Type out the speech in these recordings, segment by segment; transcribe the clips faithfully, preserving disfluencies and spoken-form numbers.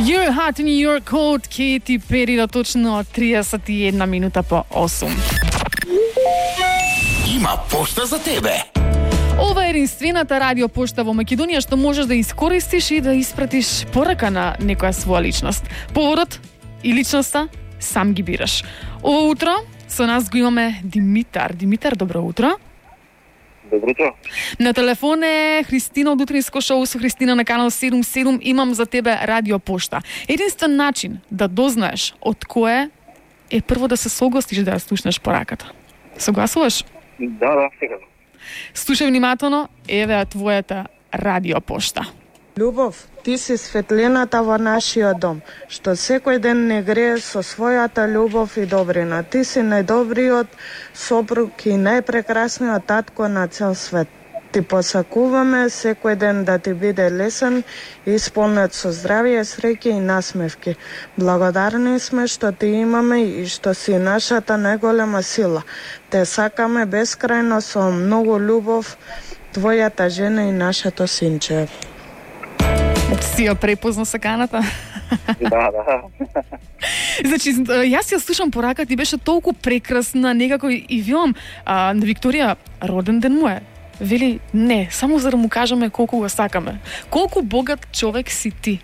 You're hot and you're cold, Katy Perry, до точно триесет и една минута по осум. Има пошта за тебе. Ова е единствената радио пошта во Македонија што можеш да искористиш и да испратиш порака на некоја своја личност. Поводот и личноста сам ги бираш. Ова утро со нас го имаме Димитар. Димитар, добро утро. Добро утро. На телефон е Христина од утринско шоу со Христина на канал седум седум. Имам за тебе радио пошта. Единствен начин да дознаеш од кое е прво да се согласиш да ја слушнеш пораката. Согласуваш? Да, да, секако. Слушај внимателно, еве е твојата радио пошта. Љубов, ти си светлината во нашиот дом, што секој ден не грее со својата љубов и добрина. Ти си најдобриот сопруг и најпрекрасниот татко на цел свет. Ти посакуваме секој ден да ти биде лесен и исполнет со здравје, среќа и насмевки. Благодарни сме што ти имаме и што си нашата најголема сила. Те сакаме бескрајно со многу љубов, твојата жена и нашето синче. Си ја препозна саканата? Да, да. Значи, јас ја слушам пораката и беше толку прекрасна, некако и вилам, а, на Викторија роден ден му е. Вели, не, само за да му кажеме колку го сакаме. Колку богат човек си ти.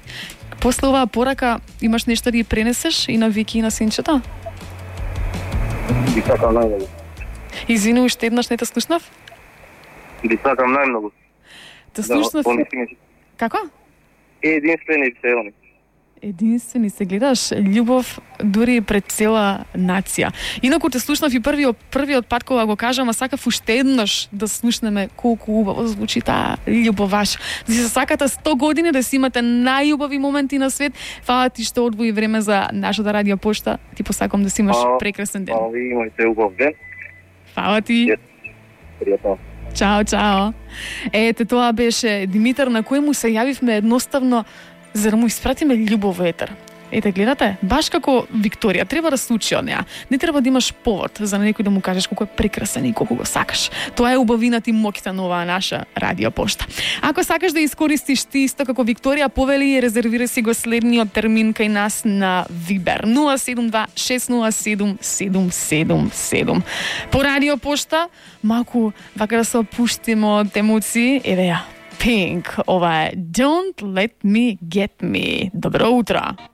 После оваа порака имаш нешто да ги пренесеш и на Вики и на синчето? Ви сакам најмногу. Извини, уште еднаш не те слушнав? Ви сакам најмногу. Те слушнав? Да, Како? единствени се они. Единствени се гледаш, љубов дури пред цела нација. Инаку те слушнав и првиот првиот пат кога го кажам, а сакав уште еднаш да слушнеме колку убаво звучи таа љубоваш. Да си сакате сто години, да си имате најубави моменти на свет. Фала ти што одвои време за нашата радио пошта. Ти посакам да си имаш А, прекрасен ден. А ви имајте убав ден. Фала ти. Пријатно. Чао, чао. Ете, тоа беше Димитар, на кој му се јавивме едноставно за да му испратиме љубов во етер. Ете, гледате, баш како Викторија, треба да се учи од неа. Не треба да имаш повод за некој да му кажеш колку е прекрасен и колку го сакаш. Тоа е убавината и моќта на оваа наша радио пошта. Ако сакаш да искористиш ти исто како Викторија, повели и резервирај си го следниот термин кај нас на Вибер нула седум два шест нула седум седум седум седум. По радио пошта, малку вака да се опуштиме од емоции, еве ја. Pink, ова е Don't Let Me Get Me. Добро утро!